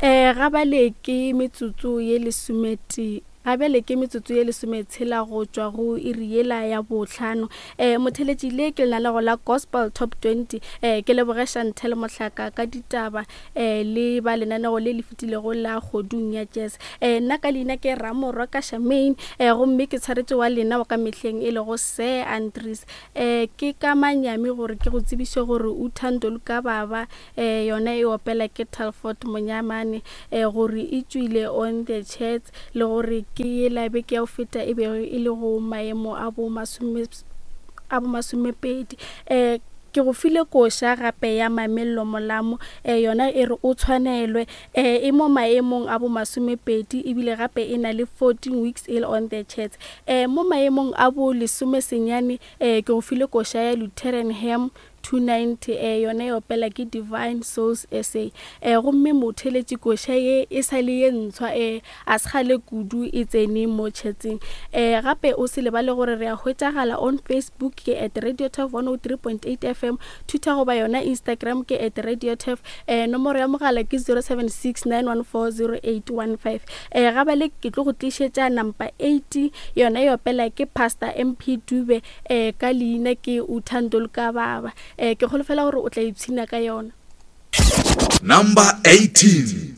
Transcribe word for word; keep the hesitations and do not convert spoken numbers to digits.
um ga bale ke metsotso ye lesometee ga bjale ke metsotso ye lesometshela go tšwa go iri yela ya bohlano. um motheletši le ke lenanego la Gospel Top twenty. um ke leboge Chantel Mohlaka ka ditaba um le ba lenanego le le fetilego la Kgodung ya Jazz. um nna ka leina ke Ramorwa ka Shamaine, um gomme ke tshwaretše wa lena wa ka mehleng e lego Sir Andries. um ke ka manyami gore ke go tsebiše gore Uthando Luka Baba um yona e opela ke Telford Monyamane, um gore e tšwile on the charts le gore ke yela beke ya go feta e bego e le go maemo a bo masome a bo masomepedi. um ke go file koša gape ya Mamello Molamo, um yona e re o tshwanelwe, um e mo maemong a bo masomepedi ebile gape e na le fourteen weeks e le on the charts. um mo maemong a bo lesomesenyane, um ke go file koša ya Lutheran Hymn two ninety, um yona e opela ke Divine Souls S A. um gomme motheletši koša ye e sa le ye ntshwa, um a se kgale kudu e tsene mo chartseng. um gape o se lebale gore re a hwetšagala on Facebook ke at Radio Turf one oh three point eight F M, Twitter goba yona Instagram ke at Radio Turf. um nomoro ya mogala ke zero seven six nine one four zero eight one five. um ga bale ke tlo go tlišetša number eight, yona e opela ke Pastor M P Dube, um ka leina ke Uthando Luka Baba. um ke kgolofela gore o tla ipshina ka yona. Number eighteen.